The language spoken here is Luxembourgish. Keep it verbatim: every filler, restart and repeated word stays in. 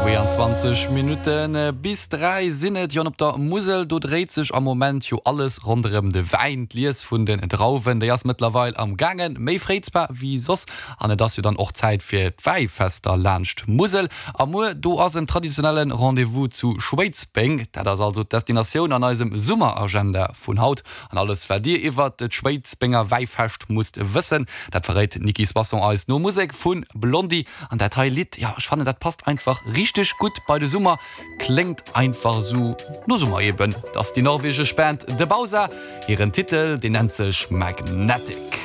Zweeanzwanzeg Minutte bis dräi sinn et. Jo, an op der Musel, do dréit sech am Moment jo alles ronderëm de Wäin. D'Lies vun den Drauwen, déi ass mëttlerweil am gaangen, méi fréi zwar wéi soss. An et ass jo dann och Zäit fir d'Wäifester laanscht d'Musel. A muer, do ass en traditionelle Rendez-vous zu Schwéidsbeng. Dat ass also d'Destinatioun an eisem Summeragenda vun haut. An alles wat dir iwwert d'Schwéidsbenger Wäifescht musst wëssen, dat verréit d'Nicky Soisson eis no Musek vu Blondie. An dat hei Lidd, jo, ech fannen dat passt einfach richteg gutt bei de Summer, kléngt einfach sou no Summer eben. Dat ass déi norwegesch Band The Bausa, hiren Titel deen nennt sech Magnetic.